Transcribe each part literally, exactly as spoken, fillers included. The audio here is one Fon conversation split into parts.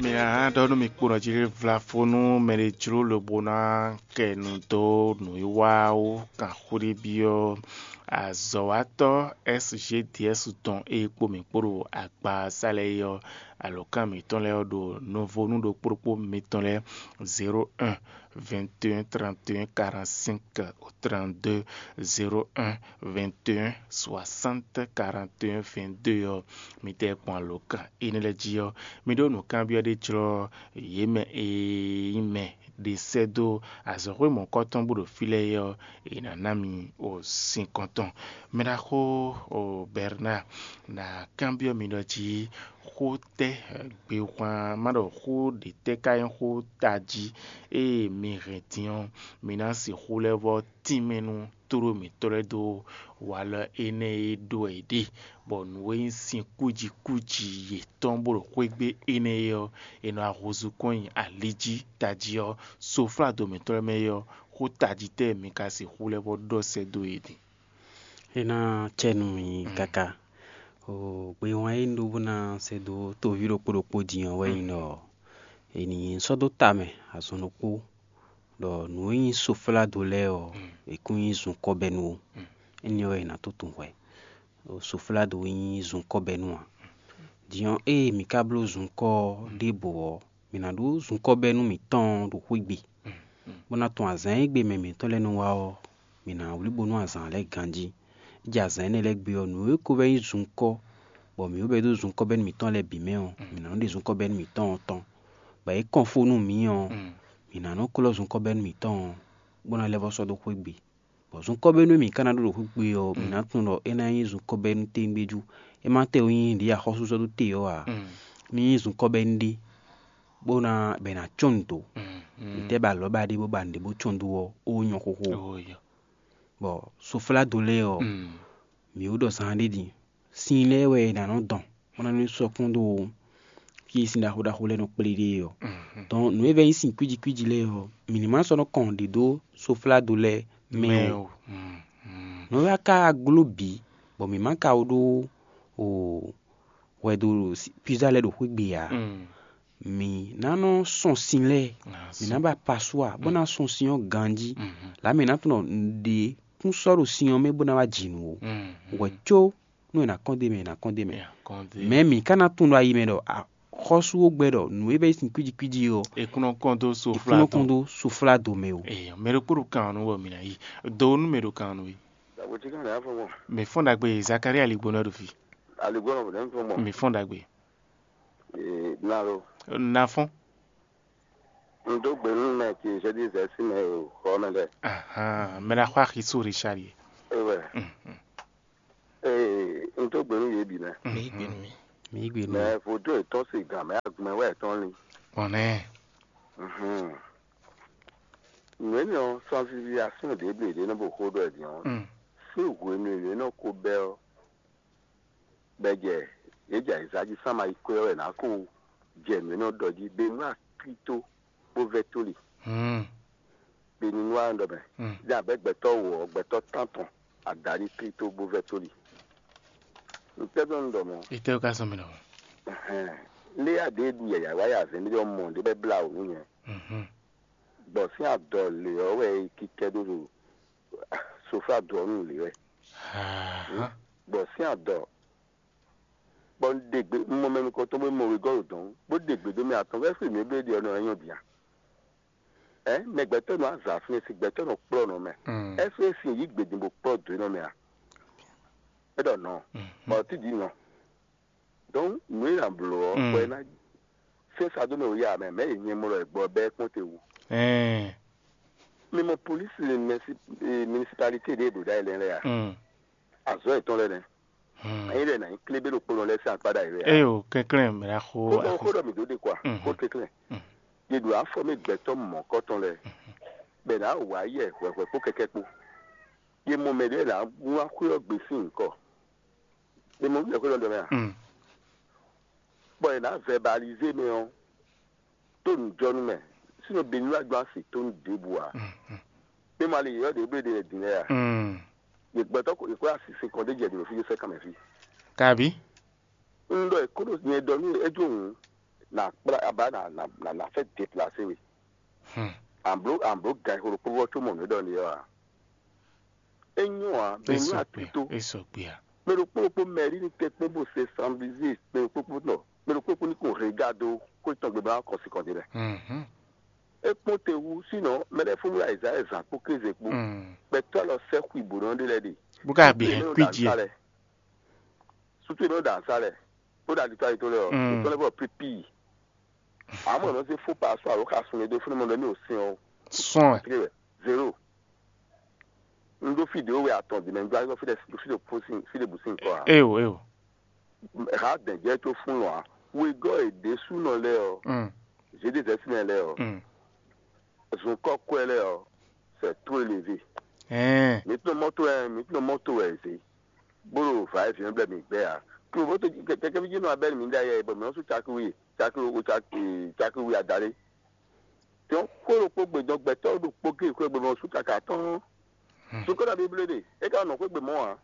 Mi ná ɖɔ nú mi kponɔ jí ɖé vlafó nú mɛ ɖé jló lobo ná kɛ nu dó nǔwiwa wú kan xó ɖé byɔ́ azɔ̌watɔ́ S G D S tɔn e kpo mǐ kpo ɖo agba sa lɛ́ɛ é ɔ́, alɔ̌kan mǐtɔn lɛ́ɛ ɔ́ ɖo nɔvónú ɖokpó ɖokpó mitɔn lɛ́ɛ zéro un vingt et un trente et un quarante-cinq au trente-deux zéro un vingt et un soixante quarante et un vingt-deux ɔ́, mi tɛ kpɔn alɔ̌kan énɛ́ lɛ́ɛ jí ɔ́, mi ɖó nǔkanbyɔ́ ɖé jlɔ́ yě mɛ e nyí mɛ ɖé sɛ́ dó azɔ̌xwé mɔ̌kɔtɔn bó ɖo fí lɛ́ɛ é ɔ́, è nǎ ná mi o sin kɔntɔn. Mɛ ɖaxó o Bernard, nǎ kanbyɔ́ mi ɖɔ jí xó tɛ́ gbehwan má ɖɔ xó ɖě tɛ́ ka nyí xó tají e mi hɛn din ɔ́, mi ná sixú lɛ́ vɔ́ tínmɛ nú tló mǐtɔn lɛ́ɛ dó walɔ énɛ́ e ɖó wɛ è ɖe, bɔ nǔ e nyí sin kújikúji yětɔn bó ɖo xwé gbe énɛ́ é ɔ́, è nɔ ahunzú kɔn nyi ali jí tají ɔ́, sofládo mǐtɔn lɛ́ɛ mɛ é ɔ́, xó tají tɛ́ mi ka sixú lɛ́ vɔ́ ɖɔ sɛ́ dó yě din? É ná cɛ nú mi káká. O, gbe wán e un ɖó bó ná sɛ́ dó toví ɖokpó ɖokpó din ɔ́ wɛ nyí ɖɔ è nǐ sɔ́ dó ta mɛ azɔn ɖokpó ɖɔ nǔ e nyí sofládo lɛ́ɛ ɔ́, è kún nyí zunkɔ́bɛ́nu ó. Énɛ́ ɔ́, è nǎ tó tunwun hwɛ. Sofládo nyí zunkɔ́bɛ́nu ǎ. Din ɔ́, ée mǐ ka bló zunkɔ́ ɔ́ ɖěbǔ ɔ́, mǐ ná ɖó zunkɔ́bɛ́nu mǐtɔn ɖo xwé gbe, bó ná tunwun azǎn e gbe mɛ mǐtɔn lɛ́ɛ nɔ wá ɔ́, mǐ ná wlí bónú azǎn lɛ́ɛ ganjí. É jɛ azǎn énɛ́ lɛ́ɛ gbe ɔ́, nǔ e ko vɛ́ nyí zunkɔ́, bɔ mǐ wú bɛ́ dó zunkɔ́bɛ́nu mǐtɔn lɛ́ɛ bǐ mɛ ɔ́, mǐ ná nɔ ɖe zunkɔ́bɛ́nu mǐtɔn ɔ́ tɔn, bɔ é kɔn fó nú mǐ ɔ́, mǐ ná nɔ klɔ́ zunkɔ́bɛ́nu mǐtɔn ɔ́, bó ná lɛ́ vɔ́ sɔ́ dó xwé gbe. Bɔ zunkɔ́bɛ́nu e mǐ ka ná ɖó ɖo xwé gbe ɔ́, mǐ ná tunwun ɖɔ é ná nyí zunkɔ́bɛ́nu téwúngbéjú. É má tɛ ó nyí ɖě axɔ́súzɔ́ ɖó te ɔ́ ǎ. Mí nyí zunkɔ́bɛ́nu ɖé, bó ná bɔ è nǎ cɔ́n nǔ dó. Mǐ tɛ́ ba alɔ̌ ba ɖé bó ba nǔɖé bó cɔ́n dó ɔ́, ó nyɔ́ xóxó. Bɔ sofládo lɛ́ɛ ɔ́, mǐ wú ɖɔ zaan ɖé din. Sin lɛ́ɛ wɛ è nǎ nɔ dɔn, bó ná nɔ́ sɔ́ kpɔ́n dó fí e sin ɖaxó ɖaxó lɛ́ɛ nɔ kplé ɖe é ɔ́. Dɔn nǔ e vɛ́ nyí sin kwíji kwíji lɛ́ɛ ɔ́, mǐ ní ma sɔ́ nɔ́ kɔn ɖě dó sofládo lɛ́ɛ mɛ ó. Nǔ e wá ka gló bǐ, bɔ mǐ ma ka wó ɖó o hwɛ dó pizza lɛ́ɛ ɖo xwé gbe ǎ. Mǐ ná nɔ́ sɔn sin lɛ́ɛ, mǐ ná ba pasua bó ná sɔn sin ɔ́ ganjí. Lǎ mǐ ná tunɔ ɖě kún sɔ́ ɖo sin ɔ́ mɛ bó ná wá ji nǔ ó. Hwɛ có nú è nǎ kɔn dó mɛ, è nǎ kɔn dó mɛ. Mɛ mǐ ka ná tunwun ɖo ayi mɛ ɖɔ xɔ́sú ó gbɛ́ ɖɔ nǔ e vɛ́ sin kwíji kwíji ɔ́, è kún nɔ kɔn dó è kún nɔ kɔn dó sofládo mɛ ó. Mɛ ɖokpó ɖo kan ɔ́ nú wɔ mǐ ná yi. Do nú mɛ ɖo kan ɔ́ nú we. Dàgbòtí kan lè fún wọn. Mǐ fɔ́n ɖagbe Zakaria Aligbónɔ ɖo fí. Aligbónɔ bò ní fún wọn. Mǐ fɔ́n ɖagbe. Ee, nalo. Na fɔ́n. N dó gbe nú mɛ ti zɛdí zɛ sí mɛ o xɔ mɛ lɛ. Ahan, mɛ na xɔ axi sóò Richard ye. Ewɛ. Mhm. Ee, n dó gbe nú yě bǐ mɛ. Mǐ gbé nú mi. Mǐ gbé nú Mɛ mi. Vodó ètɔn sì gàn mɛ agbɛn wɛ ètɔn lin. Kpɔn nɛ. Mhm. Nǔ énɛ́ ɔ́, sansiviasɔ́n ɖě blǒ ɖě nɔ bo xó ɖɔ ɛ din ɔ́, Mm. sín hwenu e nǔ énɛ́ ɔ́ ko bɛ́ ɔ́, bɔ é jɛ yě jɛ ayǐzá jí sán ma yi kwɛ́ ɔ́ wɛ nǎ ko jɛ nǔ énɛ́ ɔ́ ɖɔ jí, bɛ́ nú akíto bó vɛ́ tóli. Mm. Bɛ́ ní nú wa ɖɔ mɛ. Mm. Ní abɛ́ gbɛtɔ́ wǒ ɔ́, gbɛtɔ́ tántɔn adaɖí kíto bó vɛ́ tóli. Ntɛ́ ɖɔ un ɖɔ mɔ̌? Itɛ́ ka sɔn mi nɔ. Ɛhɛn. Lé aɖě ɖu yǎyá wá yà zɛ̌n ɖé ɔ́ mɔ ɖé bɛ́ blá wǔ nú nyɛ. Mhm. Gbɔ̌ sín adɔ lě ɔ́ wɛ é kíkɛ́ ɖó ɖo sofá dɔ̌ nú lě wɛ. Ahan. Gbɔ̌ sín adɔ bɔ un ɖe gbe, un mɔ mɛ nukɔntɔn bó mɔ wegɔ́ ɖo dɔ̌n, bó ɖe gbe dó mɛ atɔn, ɛ́ fí mǐ bló ɖi ɔ́ nɔ nyɔ́ bǐ a? Ɛ mɛ gbɛtɔ́ nɔ azǎn fínɛ́ sín gbɛtɔ́ nɔ kplɔ́ nɔ mɛ. Mm. Ɛ́ fí é sin yǐ gbědín bó kplɔ́ dǒ nɔ mɛ a? É ɖɔ nɔ. Mhm. Bɔ tí dǐ nɔ. Donc nǔ e nǎ bló ɔ́, Mm. bɔ é ná sɛ́n sa dó mɛ wǔ ya mɛ, mɛ e nyɛ mɔ ɖɔ è gbɔ bɛ́ kpɔ́n te wú. Ɛɛ. Mi mɔ polísi municipalité ɖé ɖo ɖ'ayǐ lɛ́ɛ lɛ́ɛ a? Mm. Azɔ̌ yětɔn lɛ́ɛ nɛ́. Hmm. Ényí ɖɔ è nǎ nyí klébé ɖokpónɔ lɛ́ɛ sín akpá ɖ'ayǐ wɛ a? Eyo, kɛnklɛ́n mɛ ná xo. Xó ɖɔ xó ɖɔ mǐ dó ɖe kɔ a? Mhm. Xó kɛnklɛ́n. Mhm. Yě ɖo afɔ mɛ gbɛtɔ́ mɔ̌kɔtɔn lɛ́ɛ. Mhm. Bɔ è nǎ wǎ yɛ hwɛhwɛ kpó kɛkɛ kpó. Yě mɔ mɛ ɖé ná wlán xwé ɔ́ gbe sín nyǐkɔ. Yě mɔ mɛ xwé lɔ ɖɔ mɛ a? Mm. Bɔ è nǎ vɛbalizé mɛ ɔ́, tó nǔjɔnú mɛ, sínú Benilúwa gbɔn asi tó nú ɖěbǔ ǎ. Mm, mm. Mɛ ma lè yɔ̌ ɖě bló ɖe din lɛ́ɛ ǎ. Mm. Yě gbɛtɔ́ ko yě kó asi sin kɔn ɖé jɛ ɖě ɖo fí sɛ́ kan mɛ fí. Kabi? Un ɖɔ è kó ɖo nyɛ ɖɔ nú é jó hǔn, na kplá aba na na na na fɛ déplacé we. An bló an bló gan xo ɖokpó vɔ có mɔ nǔ ɖɔ ní ɔ́ a? É nyɔ́ ǎ, mɛ ní atito. Mɛ ɖokpó ɖokpó mɛ ɖi ní tɛ kpɔ́n bó se sanbizi mɛ ɖokpó kpó nɔ mɛ ɖokpó kpó ní kò hɛn ga dó kó tɔn gbé bá kɔ sí kɔn dé lɛ. É kpɔ́n te wú sínɔ mɛ lɛ́ɛ fún wúlá ìzá ɛzǎn kpó kéze kpó. Gbɛtɔ́ lɔ sɛ́ xwi bǒ nɔ ɖé lɛ́ɛ ɖe. Bó ká bǐ hɛn kwíji ɛ. Sutu e nɔ ɖo azǎn lɛ, bó ɖo alitó alitó lɛ ɔ́, Mm. Itɔ́ lɛ bɔ pípíì. Àmọ́ ẹ̀ nɔ zé fó pa sɔ́ àló xa sun e dó fúnni mɔ lɔ ní òsín ɔ́, Sɔn ɛ. Zéro. Un ɖó fí ɖě wɛ atɔn dǐ mɛ, un ɖó azɔ fí ɖe fí ɖe fó sín fí ɖe bǔ sín kɔ ǎ. Eo eo. Ha dɛ̌njɛ tó fún lɔ ǎ. Wegɔ́ è ɖě súnɔ lɛ ɔ́, Mm. Zédézɛ́sínɛ lɛ ɔ́, Mm. Zunkɔ́ kwɛ lɛ ɔ́, c'est trop élevé. Ɛɛ. Mi tún mɔto ɛ, mi tún mɔto ɛ zé. Bó ɖo va ɛ vǐ ɔ́ blɛ mi gbɛ ǎ. Klo bó tó kɛkɛví jí nɔ abɛ́ mi ɖe ayɛ bɔ mi nɔ sú cakíwí cakíwí cakíwí adalé. Tɔn xó ɖokpó gbedɔn gbɛtɔ́ ɖokpó gé xwé gbé mɔ sú kaka tɔn. Sukɔ́ na bíblé ɖe, é ka nɔ xwé gbé mɔ ǎ.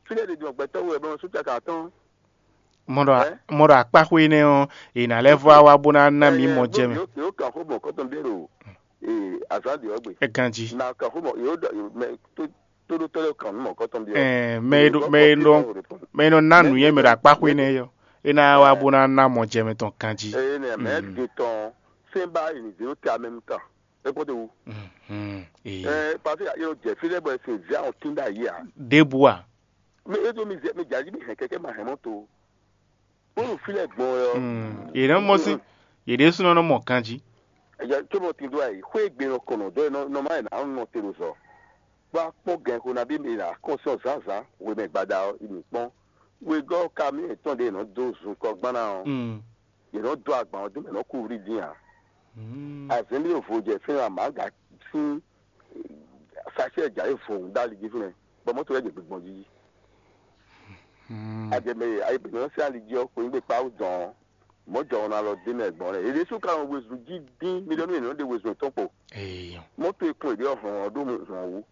Fínɛ́ ɖe dɔn gbɛtɔ́ wɛ bɔ mɔ sú kaka tɔn. Mɔ ɖɔ Ɛ? Mɔ ɖɔ akpáxwé énɛ́ ɔ́, è nǎ lɛ́ vɔ wá bó ná ná mí mɔ jɛ mɛ. Yǒ kan xó mɔ kɔ́tɔn ɖé ɖo ee azǎn ɖě ɔ́ gbe. É ganjí. Na kan xó mɔ yǒ ɖɔ mɛ tó tó ɖó tɔ́ lɛ́ kan nú mɔ kɔ́tɔn ɖé ɔ́. Ɛɛ, mɛ e ɖo mɛ e ɖɔ mɛ e nɔ ná nǔnywɛ́ mɛ ɖo akpáxwé énɛ́ ɔ́, é ná wá bó ná ná mɔ jɛ mɛ tɔn ganjí. Eye nɛ mɛ de tɔn sɛnba yi ni zero te amɛ mu tan. É kpɔ́ te wu. Mhm. Ee. Ɛ pase yɔ jɛ fi lɛ bɔ ɛsɛ via ɔn tin da yi a. Ɖěbǔ a? Mi e do mi zɛ mi jaji mi hɛn kɛkɛ ma hɛn mɔ to. Bónú fi lɛ gbɔn yɔ. Mm. Yě nɔ mɔ sí, yě ɖésúnɔ nɔ mɔ ganjí. Ɛyɛ tó mɔ tin do ayi xwé gbe nɔ kɔnɔ dɔ nɔ nɔ ma yɛ na nɔ te do zɔ. Bó a kpɔn gɛn xo na bí mi na kɔn sɔ zǎnzǎn hwemɛ gbada ɔ́, mi kpɔn. Wegɔ́ ka mi etɔn ɖe nɔ dó zun kɔ gbán ná ɔ́. Mm. Yě nɔ dó agban ɔ́ dó mɛ nɔ kú wlí dín ǎ. Azɛ̌n ɖé vo jɛ fínɛ́ amǎga sín sachet jǎ é vo ɖó ali jí fínɛ́, bɔ mɔ̌ to lɛ́ɛ jɛ gbigbɔn jí. Ajɛ mɛ e ayǐ bǐ nɔ sín ali jí ɔ́, xweyígbe kpá wú dɔn ɔ́, mɔ̌ jɔ ɔ́ ná lɔ dé mɛ gbɔn lɛ́ɛ. Yě ɖésú ka nɔ wezun jí dín miliyɔ́nù yě nɔ ɖe wezun yětɔn kpo. Eeyɔ. Mɔ̌ to e kplɔ́n yě ɖe ɔ́ hlɔn ɔ́ ɖó hɔn wú.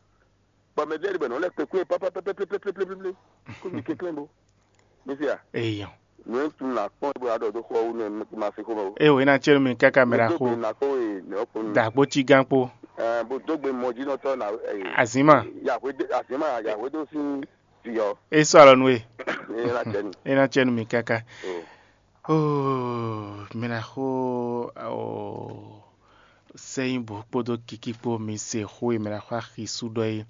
Bɔ mɛ ɖé bɔ nɔ lɛ́ kpekwe pɛpɛpɛpɛpɛpɛpɛ kó mi kɛnklɛ́n bo. Mi se a? Eyɔn. Nǔ e tun la kpɔ́n bó adɔ dó xɔ wú nú ma se xó mɛ o. Eye wòye na cɛ́ nú mi káká mɛ ɖaxó. Dó gbe nakpó e nɛ ɔkpó nu. Dàgbó cí gán kpó. Ɛ bó dó gbe mɔjínɔtɔ na ɛ. Azǐma. Yahweh dé azǐma Yahweh dó sín vǐ ɔ. É sɔ́ alɔ nú we. É ná cɛ́ nú. É ná cɛ́ nú mi káká. Oo, mɛ ɖaxó oo. Sɛ́nyíbǔ kpódó kikí kpó mi se xó e mɛ ɖo axwá xisú ɖɔ é.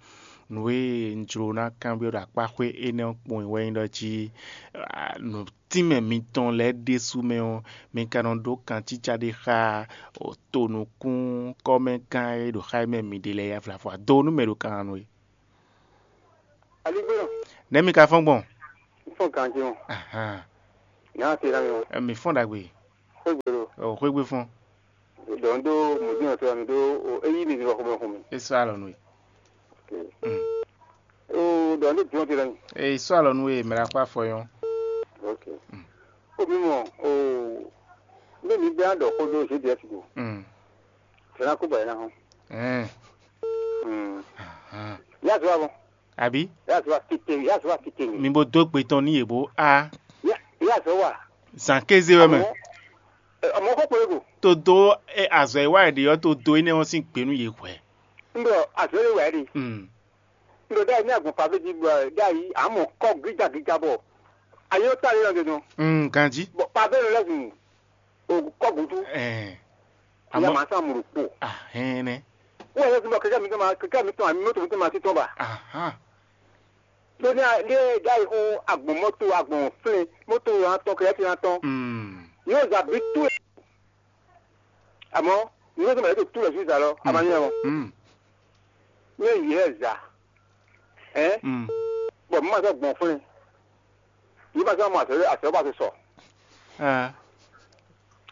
Nǔ e un jló ná kanbyɔ́ ɖo akpáxwé énɛ́ ɔ́ kpowun wɛ nyí ɖɔ jí nǔtínmɛ mitɔn lɛ́ɛ ɖésú mɛ ɔ́, mi ka nɔ ɖó kancícá ɖé xá tonukún kɔ́mɛgán e ɖo xá mɛ mi ɖe lɛ́ɛ avlavɔ ado nú mɛ ɖo kan nú é. Aligbénɔ. Nɛ̌ mi ka fɔ́n gbɔn? Fɔ́n ganjí ɔ́. Ahan. Nya se ná mi ɔ́. Ɛ, mi fɔ́n ɖagbe. Xwégbé ɖo. Ɔ, xwégbé fɔ́n. Ɖɔ ń ɖó mɔ̌dúnà tó wà mí ɖó é yí mi zɔ xɔmɛ xɔmɛ. É sɔ́ alɔ nú we. Ok. Mm. Ó ɖɔ ń ɖó dùn ɔ́ ti lɛ mi. É sɔ́ alɔ nú we mɛ ɖo akpá fɔ yɔn. Ok. Mm. Ó mi mɔ ó mɛ mi bɛ á ɖɔ xó ɖó G D S go. Mm. Tɛnɛ kó bɔ yẹn ná hɔn. Ɛn. Mm. Ahan. Yá zɔ wa bɔ. Àbí? Yá zɔ wa tete, yá zɔ wa tete. Mi bo dó gbe tɔn ní yě bó á. Yá yá zɔ wa. Zǎn kéze wɛ mɛ. Àmọ́ ɛ, àmọ́ kó péré kò. Todo ɛ azɔ e wá yɛ ɖe ɔ́ todo énɛ́ ɔ́ sín gbě nú yě hwɛ. Ń ɖɔ azɔ e wá yɛ ɖe. Mm. Ń ɖɔ ɖ'ayǐ ní agbɔn pàvé jí bɔ ɖ'ayǐ àmọ́ kɔ gíga gíga bɔ. Ayé ó tá lé lɔ dɔn. Mm, ganjí. Bɔ pàvé lɔ lɛ́sìn. O kɔ gudu. Ɛɛ. Ìyá Àmọ́ màá sá mùrù kpò. Ahɛn nɛ. Wọ́n yẹ kí n bọ kẹ̀kẹ́ mi tó máa kẹ̀kẹ́ mi tó máa mi mọ́tò mi tó máa títọ́ bá. Ahan. Lóní alẹ́ ẹ̀dá yìí fún agbọ̀n mọ́tò agbọ̀n flẹ̀ mọ́tò yẹn atọ́ kẹ̀kẹ́ fi hàn tán. Mm. Yóò zà bí tú ẹ̀. Àmọ́ yóò tó máa yẹ kó tú lọ sí ìsàlọ́. Àmọ́ yẹn wọn. Mm. Ní èyí ẹ̀ zà. Ẹ́. Mm. Bọ̀ mọ́ àti ọgbọ̀n flẹ̀. Yìí máa sọ ọmọ àtẹ̀wé àtẹ̀wé bá ti sọ. Ah.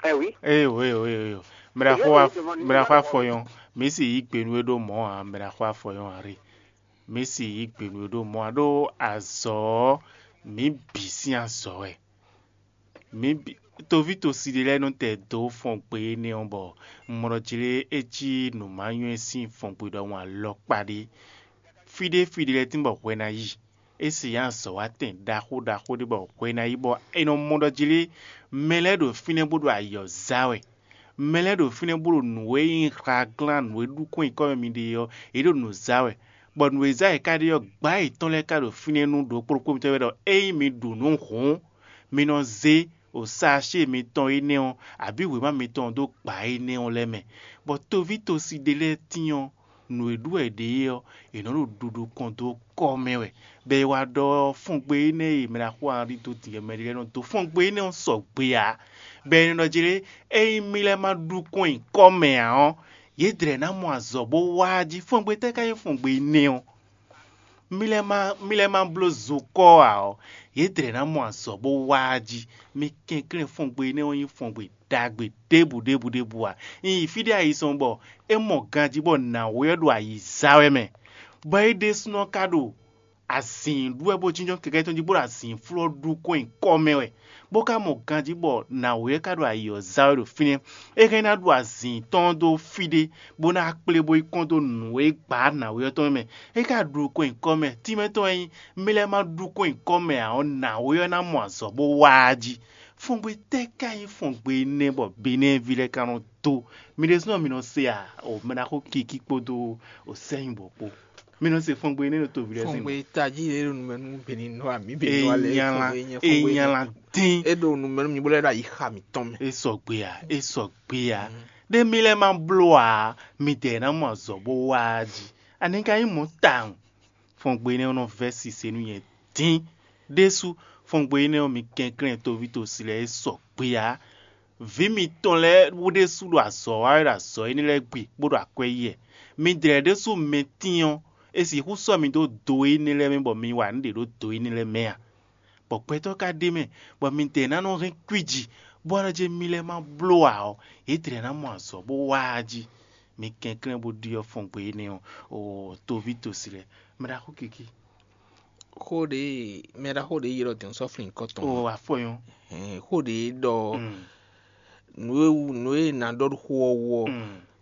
Ẹ wí. Eyo eyo eyo eyo. Mɛ ɖaxó wa mɛ ɖaxó afɔyɔn. Mi si yi gbenu e ɖo mɔ a mɛ ɖaxó afɔyɔn a ri. Mi si yi gbenu e ɖo mɔ a ɖo azɔ mi bǐ sín azɔ wɛ. Mi bǐ toví tosi ɖé lɛ́ɛ nɔ tɛ dó fɔn gbe énɛ́ ɔ́ bɔ mɔɖɔjlé é cí nǔmanyɔ́ sín fɔn gbe ɖɔhun alɔkpa ɖé. Fí ɖé fí ɖé lɛ́ɛ tín bɔ hwɛ ná yi. É si nyi azɔ̌watɛn ɖaxó ɖaxó ɖé bɔ hwe ná yi bɔ è nɔ mɔ ɖɔ jí lé, mɛ lɛ́ɛ ɖo fínɛ́ bó ɖo ayǐ ɔ́ zá wɛ. Mɛ lɛ́ɛ ɖo fínɛ́ bó ɖo nǔ e nyí hlaglán, nǔ e ɖu kɔn nyǐkɔ mɛ mi ɖe ɔ́, yě ɖo nǔ zá wɛ. Bɔ nǔ e zá yě ka ɖe ɔ́, gbǎ yětɔn lɛ́ɛ ka ɖo fínɛ́ nú ɖokpó ɖokpó mitɔn wɛ ɖɔ ényí mi ɖu nǔ hǔn, mi nɔ zé o saashé mitɔn énɛ́ ɔ́, abǐ wěma mitɔn ɔ́ dó gbǎ énɛ́ ɔ́ lɛ́ɛ mɛ. Bɔ toví tosi ɖé lɛ́ɛ tín ɔ́, nǔ e ɖu wɛ yě ɖe é ɔ́, yě nɔ ɖo ɖuɖu kɔn dó kɔ́ mɛ wɛ, bɔ è wá ɖɔ fɔngbe énɛ́ e mɛ ɖaxó Henri dó din ɔ́, mɛ ɖé lɛ́ɛ nɔ dó fɔngbe énɛ́ ɔ́ sɔgbe ǎ, bɔ è nɔ ɖɔ jí lé, ényí mì lɛ́ɛ ma ɖu kɔn nyi kɔ́ mɛ ǎ ɔ́, yě dlɛ̌ ná mɔ azɔ̌ bó wá jí. Fɔngbe tɛ́ ka nyí fɔngbe énɛ́ ɔ́? Mì lɛ́ɛ ma mì lɛ́ɛ ma bló zo kɔ́ ǎ ɔ́, yě dlɛ̌ ná mɔ azɔ̌ bó wá jí. Mi kɛnklɛ́n fɔngbe énɛ́ ɔ́ nyí fɔngbe ɖagbe ɖěbǔ ɖěbǔ ɖěbǔ ǎ. Un yi fí ɖé ayizɔn bɔ é mɔ ganjí bɔ nǎwe ɔ́ ɖo ayǐ zá wɛ mɛ, bɔ é ɖésúnɔ ka ɖo azǐn ɖu wɛ bó jínjɔ́n kɛkɛ́ tɔn jí bó ɖo azǐnflú ɔ́ ɖu kɔn nyi kɔ́ mɛ wɛ, bó ka mɔ ganjí bɔ nǎwe ɔ́ ka ɖo ayǐ ɔ́ zá wɛ ɖo fínɛ́. É hɛn ná ɖu azǐn tɔn ɔ́ dó fí ɖé, bó ná kplé bó yi kɔn dó nǔ e gbǎ nǎwe ɔ́ tɔn mɛ. É ka ɖu kɔn nyi kɔ́ mɛ, tínmɛ tɔn e nyí mì lɛ́ɛ ma ɖu kɔn nyi kɔ́ mɛ ǎ ɔ́, nǎwe ɔ́ ná mɔ azɔ̌ bó wá jí. Fɔngbe tɛ́ ka nyí fɔngbe énɛ́ bɔ Benɛ́ɛví lɛ́ɛ ka nɔ dó? Mi ɖésúnɔ mi nɔ se a? O mɛ ná xo kiki kpódó o sɛ́nyibɔ kpó. Mi nɔ se fɔngbe énɛ́ ɖo toví lɛ́ɛ sín. Fɔngbe tají ɖé ɖo numɛ nú Benin nɔ ami Benin nɔ alɛ. Enyala, enyala dín. E ɖo numɛ nú mi bó lɛ́ ɖo ayi xa mǐtɔn mɛ. E sɔgbe a, e sɔgbe a. Ɖé mi lɛ́ ma bló a, mi dɛ ná mɔ azɔ̌ bó wá jí. Ani ka nyí mɔ̌ tawun. Fɔngbe énɛ́ ɔ́ nɔ vɛ́ sise nú nyɛ dín. Ɖésú, fɔngbe énɛ́ ɔ́ mi kɛnklɛ́n toví tosi lɛ́ɛ e sɔgbe ǎ. Vǐ mitɔn lɛ́ɛ wú ɖésú ɖo azɔ̌ wa wɛ ɖo azɔ̌ énɛ́ lɛ́ɛ gbe bó ɖo akwɛ́ yí wɛ. Mi dlɛ̌ ɖésú mɛ tín ɔ́, è sixú sɔ́ mi dó do énɛ́ lɛ́ɛ mɛ bɔ mi wa nǔ ɖě ɖó do énɛ́ lɛ́ɛ mɛ a? Bɔ gbɛtɔ́ ka ɖ'é mɛ, bɔ midɛɛ ná nɔ hɛn kwíji, bó wá nɔ jɛ mi lɛ́ɛ ma bló ǎ ɔ́, yě dlɛ̌ ná mɔ azɔ̌ bó wá jí. Mi kɛnklɛ́n bó ɖyɔ́ fɔngbe énɛ́ ɔ́, o toví tosi lɛ́ɛ, mɛ ɖaxó kiki. Xó ɖě mɛ ɖaxó ɖě ylɔ́ din sɔ́ flin nyǐkɔ tɔn. O afɔyɔn. Hɛn, xó ɖě ɖɔ nǔ e wú nǔ e è nǎ ɖɔ ɖo xó ɔ́ wú ɔ́,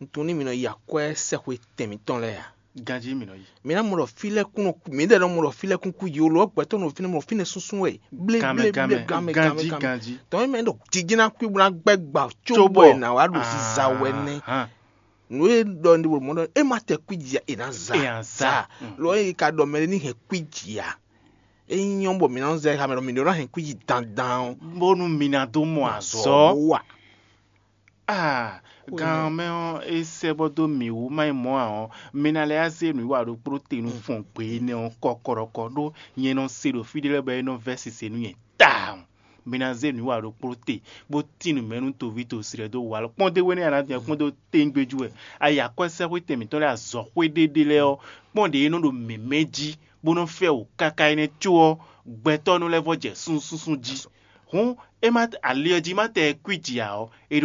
un tunwun ní mi nɔ yi akwɛ́ sɛxwe tɛn mǐtɔn lɛ́ɛ ǎ. Ganjí mi nɔ yi. Mi ná mɔ ɖɔ fí lɛ́ɛ kún nɔ kú, mǐdɛɛ nɔ mɔ ɖɔ fí lɛ́ɛ kún kú yi, olǒ gbɛtɔ́ nɔ fínɛ́ mɔ fínɛ́ súnsún wɛ. Blé Ganmɛ, blé blé ganmɛ, ganmɛ ganjí, ganmɛ ganjí. Tɔn mɛ ɖɔ jijɛ ná kú bó ná gbɛ́ gbà có bɔ è nǎ wá ɖo ziza wɛ nɛ́. Ahán. Nǔ e ɖɔ ní ɖo mɔ̌ ɖɔ é má tɛ kwíji ǎ, è nǎ za. È nǎ za. Zá. Lo ényí ka ɖɔ mɛɖé ní hɛn kwíji ǎ. É nyɔ́ bɔ mǐ nɔ zɛ xamɛ ɖɔ mǐ ɖó ná hɛn kwíji dandan ɔ́. Bónú mi ná dó mɔ azɔ̌. Wa. Ah, gan mɛ ɔ́, é sɛ́ bɔ dó mǐ wú má nyí mɔ̌ ǎ ɔ́, mi ná lɛ́ zé nǔwiwa ɖokpó te nú fɔn gbě énɛ́ ɔ́ kɔkɔɖɔkɔ, ɖó nyɛ nɔ se ɖo fí ɖé lɛ́ɛ bɔ é nɔ vɛ́ sise nú nyɛ tawun. Mi ná zé nǔwiwa ɖokpó te, bó tín nǔ mɛ nú toví tosi lɛ́ɛ dó walɔ. Kpɔ́n dó énɛ́ a nǎ dun kpɔ́n dó téngbéjú wɛ. A yi akwɛ́sɛ́xwé tɛn mǐtɔn lɛ́ɛ azɔ̌xwé ɖéɖé lɛ́ɛ ɔ́, kpɔ́n ɖě é nɔ ɖo mɛ̌mɛ́ jí, bó nɔ́ fɛ wǔ káká énɛ́ có ɔ́, gbɛtɔ́ nɔ lɛ́ vɔ́ jɛ súnsúnsún jí. Hǔn é má ali ɔ́ jí má tɛ kwíji ǎ ɔ́, é